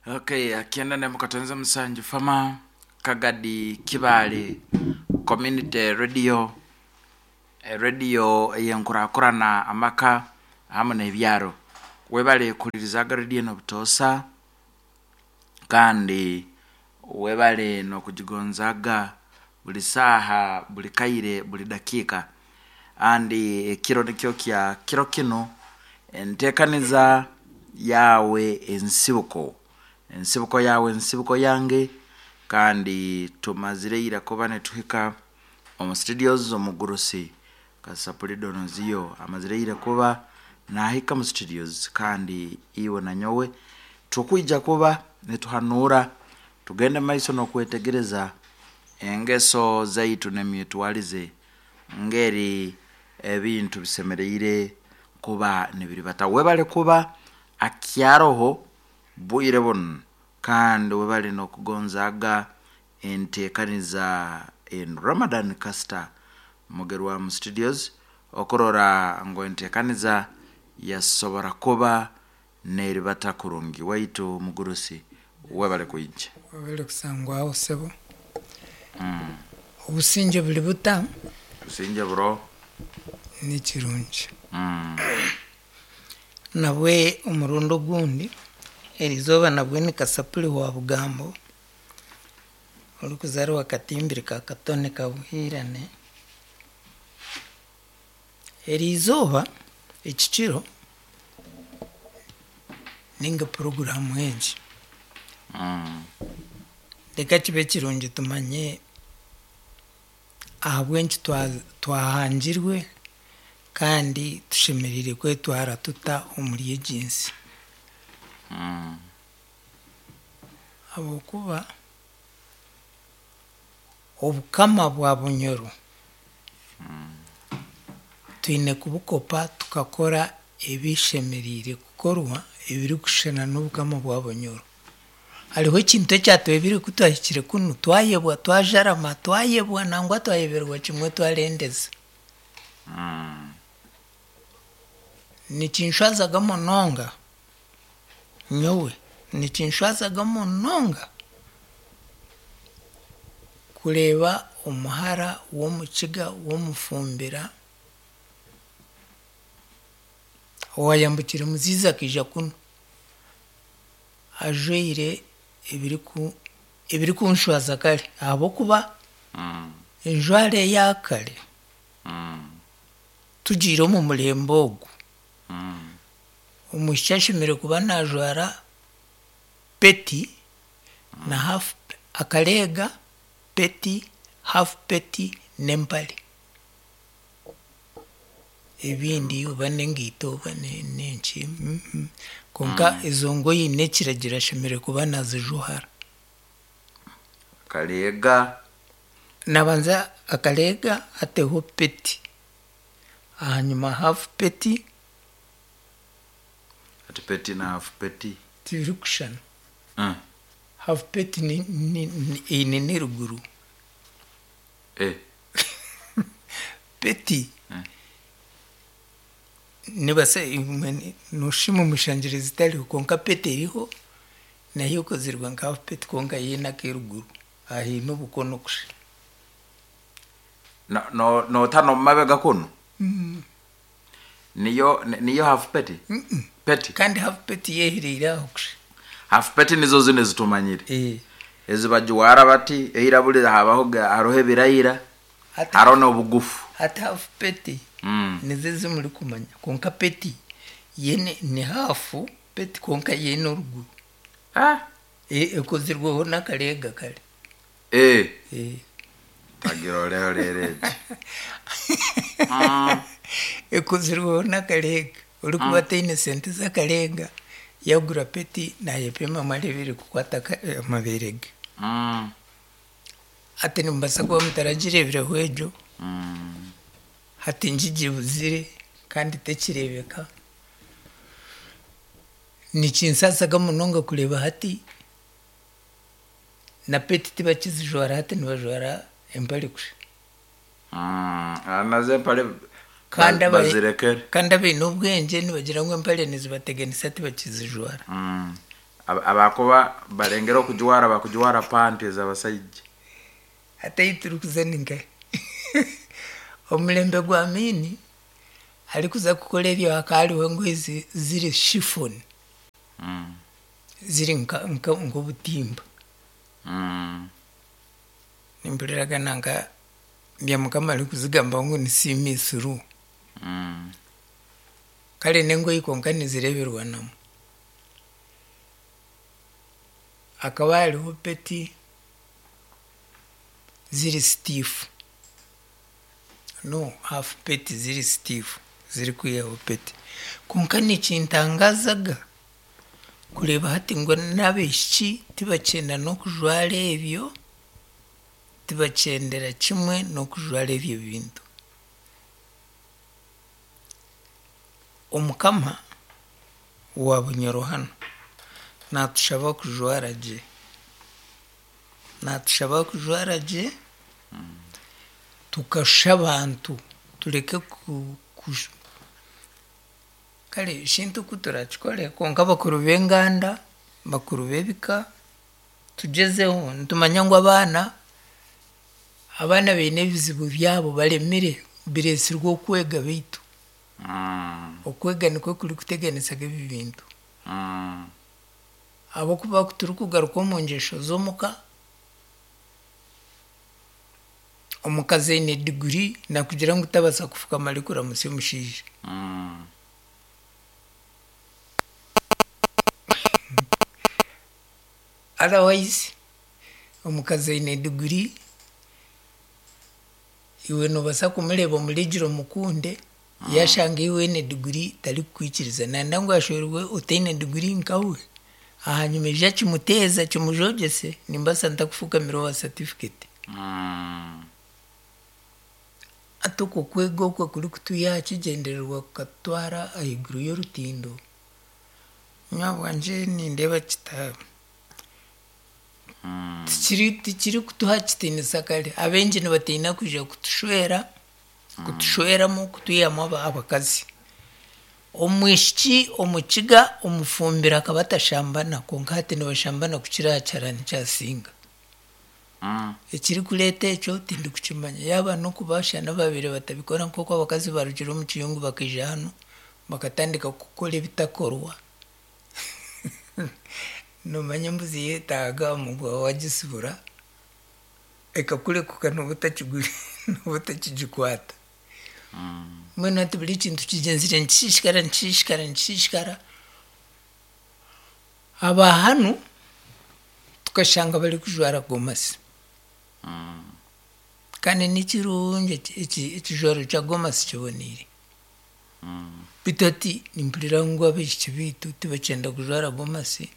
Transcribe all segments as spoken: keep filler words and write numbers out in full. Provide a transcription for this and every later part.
Okay, akienda ne mukatonza musanju fama Kagadi Kibale Community Radio, eh, radio eyenkurakurana amaka hamwe n'ebyaro. Webale kulirizaga radio n'obutosa, kandi webale n'okugigonzaga buli saaha, buli kaire, buli dakiika. Andi ekiro nikyo kya kiro kino, enteekaniza yawe ensibuko, ensibuko yawe ensibuko yange. Kandi tumazire ira kuba netuhika omu studios. Omugurusi Kasapuli Donoziyo amazire ira kuba nahika mu studios, kandi iwe na nyowe tukwija kuba nituhanura tugende maiso n'okwetegereza engeso zaitu n'emyetwarize, ngeri ebintu bisemereire kuba nibiribata. Webale kuba akyaroho bwire buno, kandi webale n'okugonzaga enteekaniza en Ramadan Caster Mugerwa mu studios, okurora ngu enteekaniza yasobora kuba neribata kurungi. Waitu mugurusi, webale kwija. Webale kusangwaho sebo. Obusinge buri buta? Businge buro. Ni kirungi. Mm. Nabwe omurundi ogundi erizooba nabwe ni Kasapuli wa Bugambo, orikuzaarwa Katimbiri ka Katone Kabuhiirane. Erizooba ekikiro ninga puroguraamu egi, Mm. reka kibe kirungi tumanye ahabw'enki twahangirwe kandi tushemereire kwetwara tuta omuri egi nsi. Mm. Habwokuba obukama bwa Bunyoro twine kubukopa, tukakora ebishemereire kukorwa ebirikushushana n'obukama bwa Bunyoro. Hariho ekintu ekyatwebire ku twahikire kunu twayebwa, twajarama, twayebwa, nangwa twayeberwa kimwe, twarendeza. Mm. Nikinshwazaga munonga nyowe, nikinshwazaga munonga kureeba omuhara w'omukiga w'omufumbira owayambukire Muzizi akaija kunu ajwaire ebiriku ebirikunshwaza kare, ahabw'okuba Mm. enjwara eya kare Mm. tugiire omu murembe ogu, Mm. omwishiki ashemereire kuba najwara peti na half akareega, peti, half peti n'empare, ebindi oba n'engaito oba n'enki, kwonka ezo ngoye n'ekiragiro ashemereire kuba nazijuhara. Kareega. Nabanza akareega, ateho peti, ahanyuma half peti. Ati peti na half peti? Tibirikushushana. Mm. Half peti ni, ni, ni, eine n'eruguru. Eh. Peti Mm. nibasa noshima omushangire zitariho, kwonka peti eriho nayo ekozirwe nka half peti, kwonka yeine ak'eruguru ahaine obukono kusha. No, no, notano mumabega kuno niyo niyo half peti? Peti. Kandi half peti yehereire aho kusha. Half peti nizo zino ezitumanyire, Eh. ezi bagiwara bati eirabulire, habaho ga- hariho ebirayira, Hati- hariho n'obugufu. Hati half peti Mm. nizo ezimuri kumanya, kwonka peti yene ni half peti, kwonka yeine oruguru. Ah. E- ekozirweho n'akareega kare. Eh. Eh. Tagira oreho rero egi. Mm. Ekozirweho n'akareega. Orikuba ataine sente z'akareega yagura peti, nayepima areebe kukwata amabeere ge. Mm. Hati nimubasa kuba mutaragireebireho egyo. Mm. Hati ngigibuzire kandi tekireebeka. Nikinsasaga munonga kureeba hati na peti tibakizijwara, hati nibajwara empare kusha. Mm. Ah, nazo empare Kandi ba- aba- bazirekere. Kandi abaine obwengye nibagira ngu empare nizibateganisa, tibakizijwara. Mm. Abakuba barengera okujwara bakujwara panti ez'abasaija. Hati ahi turikuza ni nkahi? Omulembe gwa Amiini arikuza kukora ebyo hakaba hariho engoye ziri chiffon, ziri nk'obutimba. Nimpuriraga nanka Byamukama arikuzigambaho ngu ni see me through. Kare n'engoye kwonka nizireeberwanamu. Hakaba hariho peti ziri stiff, no half peti ziri stiff zirikwihaho peti. Kwonka nikintangazaga kureeba hati ngu n'abaishiki tibakyenda n'okujwara ebyo, tibakyendera kimwe n'okujwara ebyo bintu. Omukama wa Bunyoro hanu naatushaba kujwara gye, naatushaba kujwara gye tukashusha abantu tureke ku, ku kare shintu ku turakikore kwonka bakuru b'enganda, bakuru b'ebika tugyezeho nitumanya ngu abaana, abaana baine ebizibu byabo baremire bireesirwe okwega beitu. Okwega nikwo kurikuteganisaga ebi bintu. Ahabw'okuba kuturikugaruka omu ngyesho z'omuka, omukazi aine diguri nakugira ngu tabaasa kufukama arikuramutsya omushaija. Otherwise omukazi aine diguri, iwe noobaasa kumureeba omuregire omukunde, yashanga iwe oine diguri tarikukwikiriza. Nayenda ngu ashwerwe otaine diguri nkawe, ahanyuma eija kimuteeza kimujogyese, nimbaasa ntakufukamira owa certificate. Hati okwo kwega okwo kurikutwiha aha kigyendererwa kukatutwara ahaiguru y'orutindo, nyowe ahabwangye nindeeba kita tikiri tikirikutuha kitiinisa kare. Abaingi nibatiina kwija kutushwera, kutushweramu kutwihamu abakazi. Omwishiki omukiga omufumbiro akaba atashambana kwonka hati nibashambana kukira aha kiharani kyasinga. Ekirikureeta ekyo tindikukimanya. Yaaba n'okuba shana babaire batabikora nk'oku abakazi barugire omu kiyungu bakaija hanu bakatandika kukora ebitakorwa. Noomanya embuzi yeetaaga omuguha wagisibura, ekakurekuka nooba nooba otakigikwata. Mbwenu hati buri kintu kigyenzire nikishishikara nikishishikara nikishishikara. Aba hanu tukashanga barikujwara gomasi. Kandi nikirungi ekijwaro kya gomasi kiboniire. Beitu hati nimpurira ngu abaishiki beitu tibakyenda kujwara gomasi,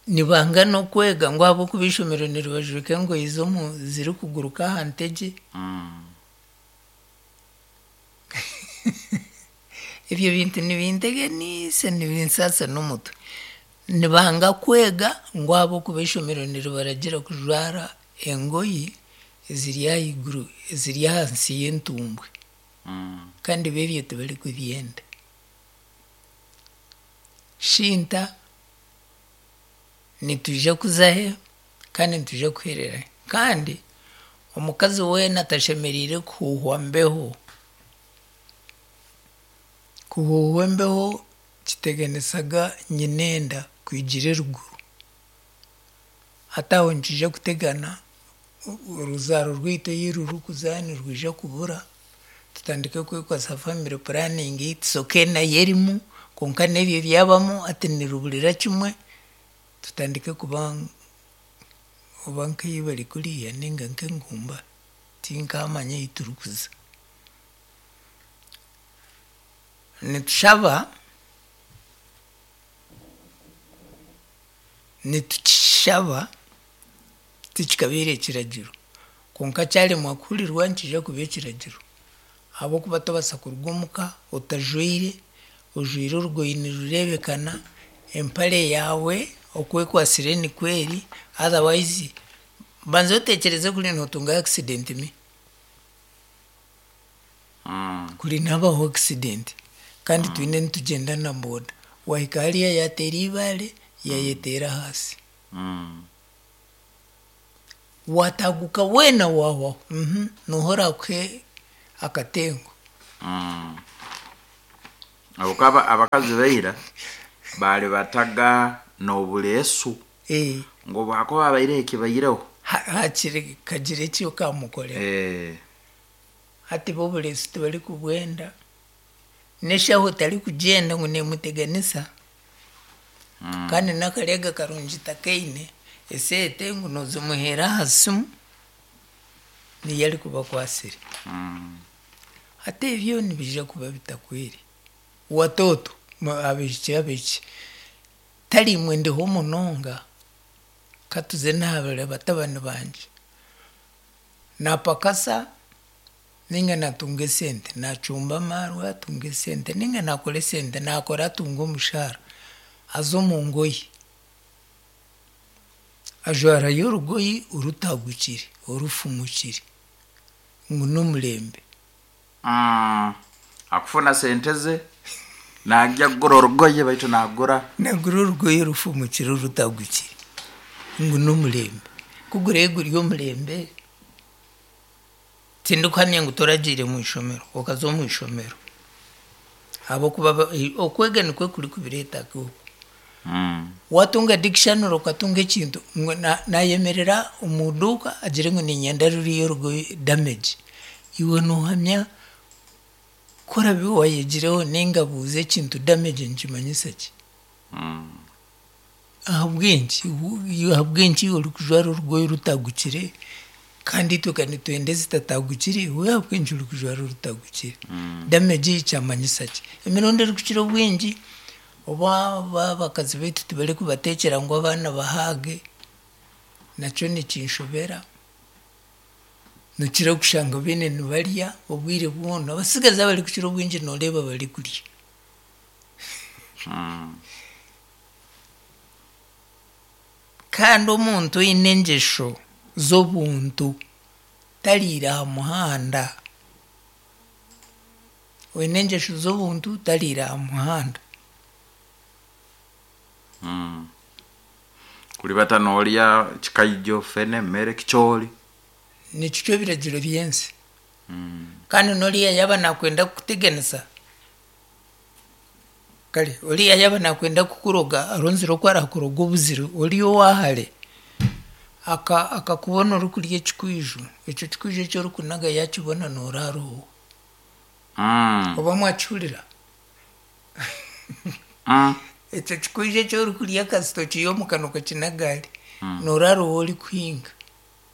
nibanga n'okwega ngu ahabw'okuba eishomero niribajweka engoye z'omu zirikuguruka aha ntegye. Ebyo bintu nibinteganiisa nibinsaasa n'omutwe. Nibanga kwega ngu ahabw'okuba eishomero niribaragiira kujwara engoye eziri ahaiguru eziri ahansi y'entumbwe. Kandi bo ebyo tibarikubyenda. Shinta nitwija kuzahe kandi nitwija kuhererahe. Kandi omukazi weena atashemereire kuhuuhwa mbeho. Kuhuuhwa embeho kiteganisaga nyinenda kwigira eruguru. Hati aho nikiija kutegana oruzaaro rwaitu ahi rurikuza nirwija kubura, tutandike kwekwasa family planning tusoke nayo erimu kwonka n'ebyo byabamu hati niruburira kimwe, tutandike kuba oba nk'ei bari kuriya ninga nk'engumba, tinkamanya ahi turikuza. Nitushaba, nitukishaba tikikabaire ekiragiro kwonka kyaremwa kuhurirwa nikiija kuba ekiragiro. Ahabw'okuba tobaasa kuruga omuka otajwaire, ojwaire orugoye nirureebekana, empare yaawe okwekwasire nikweri, otherwise banza otekyereze kuri nootunga accident mi. Kuri nihabaho accident kandi twine nitugyenda na boda, Wahika hariya yateera ibaare, yayeteera ahansi. Mm. Wataguka weena wahwaho, mhm, nooha oraakuhe akatengo? Mm. Habwokuba abakazi baira baali bataga n'obuleesu Eh, ngu bwakuba abaireho ekibaireho. ha- hakiri kagira eki okamukorera. Eh, Hati bo obureesu tibarikubwenda, n'eshaho tarikugyenda ngu neemuteganisa. mm. Kandi n'akareega karungi takaine, eseete ngu noozimuheera aha simu, niyo arikuba akwasire. Mm. Hati ebyo nibiija kuba bitakwire. Watoto, abaishiki abaishiki, tari imwe ndiho munonga, katuze n'aha batabani bangye. Naapakasa ninga naatunga esente, naacumba amaarwa atunga esente, ninga naakora esente, naakora atunga omushaara, aza omu ngoyi. Ajwarayo orugoyi orutagukire, orufumukire, ngu n'omurembe. Mm. Akufuna sente ze najya kugura orugoye baitu nagura Nagura orugoyi rufumukire orutagukire, ngu n'omurembe. Kugura guri omurembe, tindikuhamya ngu toragiire mu ishomero, okaza omu ishomero. Ahabw'okuba ba- okwega nikwo kurikubireeta okwo. Mm. Watunga dictionary okatunga ekintu, ngu na- nayemerera omu duuka agire ngu niinyenda ruriya orugoye damage. Iwe noohamya ku orabe wayegireho ninga buuza ekintu damage nikimanyisa ki? Mm. Ahabw'enki ahabw'enki orikujwara orugoye rutagukire kandi itwe ka nitwenda ezitatagukire, iwe ahabw'enki orikujwara orutagukire? Mm. Damage kyamanyisa ki? Emirundi erikukira obwingi, oba oba abakazi baitu tibarikubateekyera ngu abaana bahaage, nakyo nikinshobera. Nokira kushanga beene nibarya obwire bwona, abasigazi abarikukira obwingi nooreeba barikurya. Mm. Kandi omuntu oine engyesho z'obuntu tariira aha muhanda. Oine engyesho z'obuntu tariira aha muhanda. Mm. Kulibata noolya kikaijo fene mere kichooli. Nikyo ebiragiro by'ensi. Mm. Kandi n'oriya yaaba naakwenda kukuteganisa, kare oriya yaaba naakwenda kukuroga aronzire oku arakuroga obuzire ori owaahare, aka akakubona orikurya ekikwijo, ekyo kikwijo eki orikunaga yaakibona nooraara owe. Mm. Oba mwakihurira? Mm. Ekyo kikwijo eki orikurya kasita okiiha omu kanwa okakinaga hari, Mm. nooraara owe orikuhinga.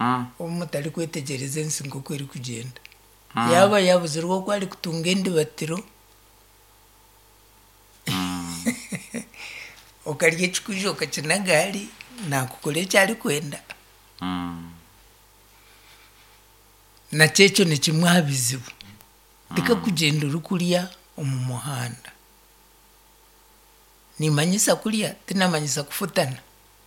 Mm. Obu mutarikwetegyereza ensi nk'oku erikugyenda. Mm. Yaaba yaabuzirwe oku arikutunga endibatiro, Mm. okarya ekikwijo okakinaga hari, naakukora eki arikwenda. Mm. Nakyo ekyo ni kimwe aha bizibu. Tikakugyenda orikurya omu muhanda. Nimanyisa kurya, tinamanyisa kufutana.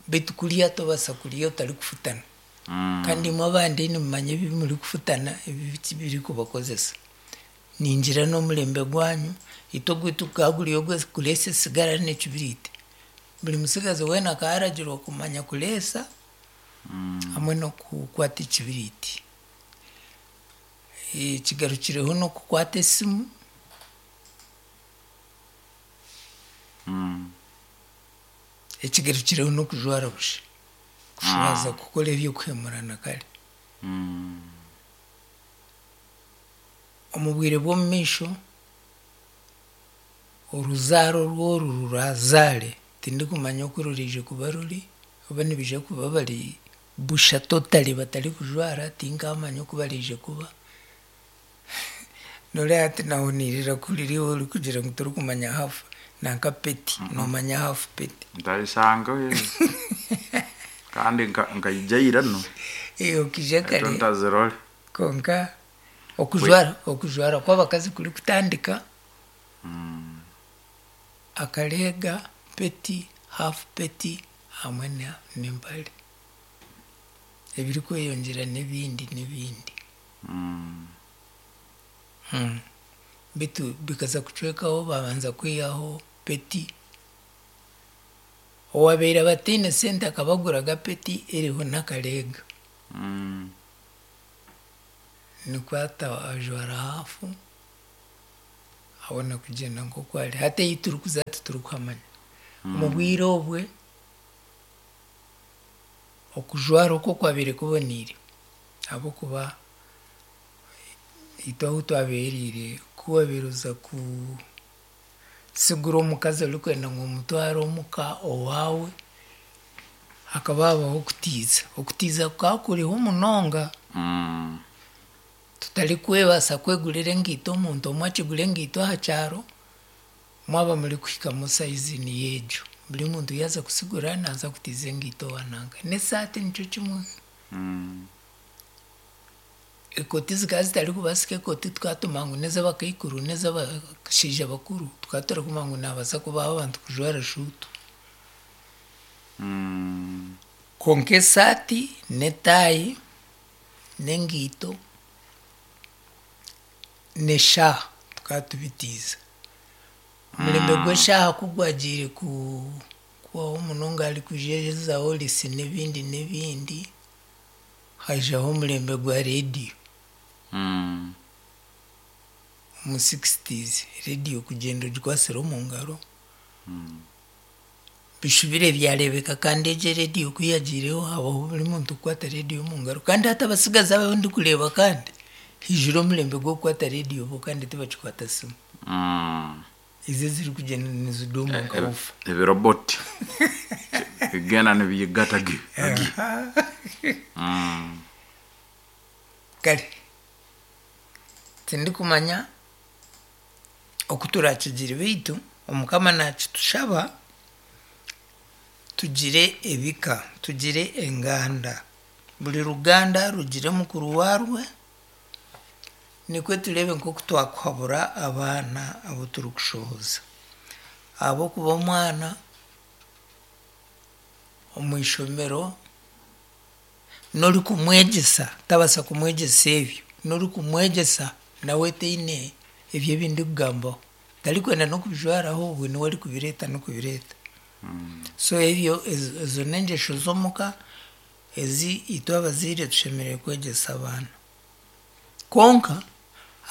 Beitu kurya tobaasa kurya otarikufutana. Mm. Kandi imwe abandi nimumanya ebi murikufutana ebi birikubakozesa. Ningira n'omurembe gwanyu, itwe ogwaitu gukaba guri ogw'okureesa esigara n'ekibiriiti. Buri musigazi weena akaba aragirwa kumanya kureesa Mm. hamwe n'okukwata ekibiriiti. Ekigarukireho n'okukwata esimu, Mm. ekigarukireho n'okujwara busha. Kushwaza kukora eby'okuhemurana kare. Mm. Omu bwire bw'omu maisho, oruzaaro rworu rurazaare, tindikumanya oku ruriije kuba ruri, oba nibiija kuba bari busha totally batarikujwara, tinkamanya oku bariije kuba. Noreeba hati naahuniirira kuhurira iwe orikugira ngu torikumanya half nanka peti, noomanya half peti. Ntaisanga kandi nka- nkaijaira no Eh, Okiija eto kare ntazirole. konka okujwara okujwara kw'abakazi kurikutandika, Mm. akareega, peti, half peti hamwe na- n'empare. Ebirikweyongyera n'ebindi n'ebindi. Mm. Mm. Bitu bikaza kucwekaho babanza kwihaho peti, Owabaire abataine sente akabagura gapeti eriho n'akareega. Mm. Nikwo ata ajwara hafu abona kugyenda nk'oku ari. Hati ei turikuza titurikuhamanya. Omu bwire obwe, okujwara okwo kwabaire kuboniire ahabw'okuba itwe ahu twabeeriire ku waabaire oza kusigura omukazi orikwenda ngu omutware omuka owaawe, hakaba habaho okutiiza. Okutiiza kukaba kuriho munonga Mm. tutarikwebaasa kwegurira engaito omuntu omwe akigura engaito aha kyaro, mwaba murikuhikamu sayizi niyo egyo. Buri muntu yaaza kusigura naaza kutiiza engaito owa nanka. N'esaati nikyo kimwe. Mm. Ekooti zikaba zitarikubaasika ekooti tukatuma ngu n'ez'abakaikuru n'ez'abashaija bakuru, tukaba turikumanya ngu naabaasa kubaho abantu kujwara shuutu. Mm. Kwonka esaati n'etaayi n'engaito n'eshaaha tukaba tubitiiza. Omurembe gw'eshaaha ku gwagiire ku- kubaho munonga harikujezaho risi n'ebindi n'ebindi, haijaho omurembe gwa reediyo. Mm. Omu sixties reediyo kugyenda ogikwasire omu ngaro, Mm. bishubire byareebeka kandi egyo reediyo ku yagiireho habaho buri muntu kukwata reediyo omu ngaro. Kandi hati abasigazi abu ndikureeba kandi, haijire omurembe gw'okukwata reediyo bo kandi tibakikwata simu. Mm. Ezo ezirikugyenda niziduma nka bufa. Ebiroboti bigenda nibiyigata gi agi. Mm. Kare tindikumanya oku turakigire beitu Omukama naakitushaba tugire ebika, tugire enganda. Buri ruganda rugire mukuru waarwe, nikwo tureebe nk'oku twakuhabura abaana abu turikushohoza. Ahabw'okuba omwana omu ishomero n'orikumwegyesa tabaasa kumwegyesa ebyo, n'orikumwegyesa nawe taine ebyo ebi ndikugambaho. Tarikwenda n'okubijwaraho obwe niwe arikubireeta n'okubireeta. So ebyo ezo ezo n'engyesho z'omuka ezi itwe abazaire tushemereire kwegyesa abaana. Kwonka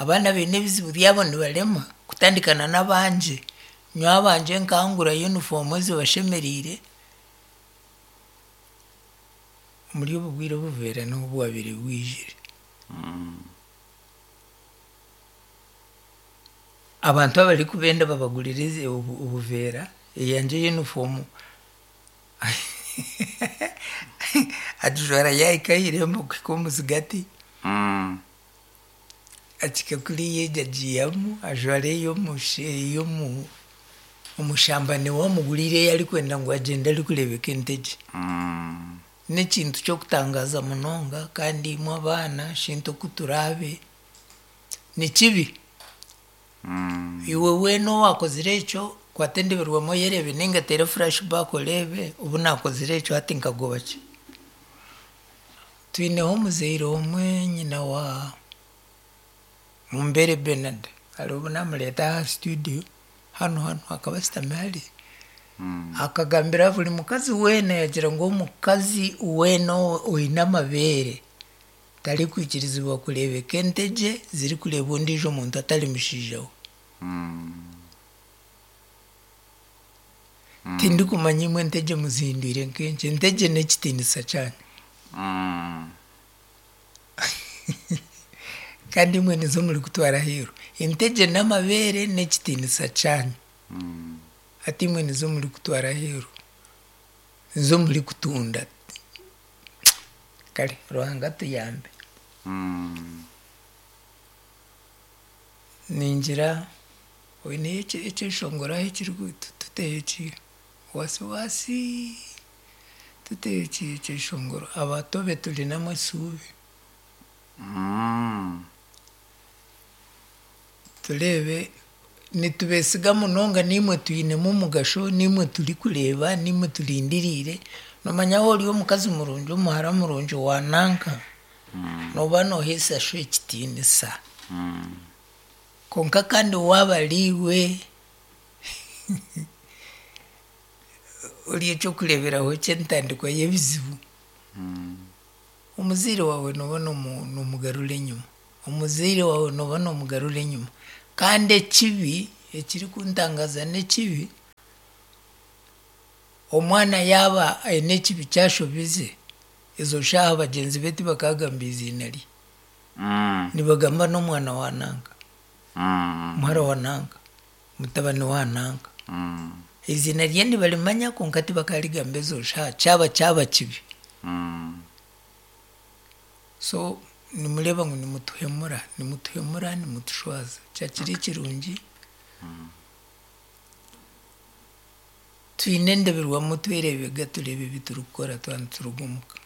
abaana baine ebizibu byabo nibarema kutandikana n'abangye. Nyowe abangye nkangura yunifoomu ezibashemeriire, omuri obu bwire obuveera niho bwabaire bwijire. Abantu abarikubenda babagurire ezi- obu- obuveera, eyangye yunifoomu agijwara yaahika aha irembo kuhika omu zigati, Mm. akika kuriya egyo agiihamu ajwara ey'omushe ey'omu omushamba niwe amuguriire ei arikwenda ngu agyende arikureebeka entegye. Mm. N'ekintu ky'okutangaaza munonga kandi imwe abaana shintu oku turaabe ni kibi. Mm. Iwe weena owaakozire ekyo kwata endeberwamu oyereebe ninga oteere flashback oreebe obu naakozire ekyo hati nkagoba ki. Twineho omuzaire omwe nyina wa Mumbere Bernard hariho obu naamureeta aha studio hanu hanu akaba ashutami hari. Mm. Akagambira buri mukazi weena yagira ngu omukazi weena oine amabeere tarikwikirizibwa kureebeka entegye zirikureebwa ondiijo muntu atari mushaija we. Mm. Tindikumanya imwe entegye muzihindwire nk'enki, entegye n'ekitiinisa kyanyu. Mm. Kandi imwe nizo murikutwara aheeru. Entegye n'amabeere n'ekitiinisa kyanyu. Mm. Hati imwe nizo murikutwara aheeru. Nizo murikutunda. Kare Ruhanga atuyambe. Mm. Ningira oineyo ekyeshongoro aho ekiriku tuteho eki wasi wasi tuteho eki ekyeshongoro abato be turinamu esuubi. Mm. Tureebe nitubeesiga munonga naimwe twinemu omugasho, naimwe turikureeba, naimwe turindiriire. Noomanya waaba ori omukazi murungi, omuhara murungi wa nanka, nooba nooheesa sho ekitiinisa. Mm. Kwonka kandi waaba ari iwe ori ekyokureeberaho ky'entandikwa y'ebizibu. Omuzaire waawe nooba noomu- noomugarura enyima, omuzaire waawe nooba noomugarura enyima. Kandi ekibi ekirikuntangaaza n'ekibi, omwana yaaba aine ekibi kyashobize, ezo shaaha bagyenzi be tibakaagamba eiziina rye. Mm. Nibagamba n'omwana wa nanka, Mm. muhara wa nanka, mutabani wa nanka. Mm. Eiziina rye nibarimanya kwonka tibakarigamba ezo shaaha kyaba kyaba kibi. Mm. So nimureeba ngu nimutuhemura, nimutuhemura, nimutushwaza. Kyakiri kirungi, twine endeberwamu twereebega tureebe ebi turikukora twaba nituruga omuka.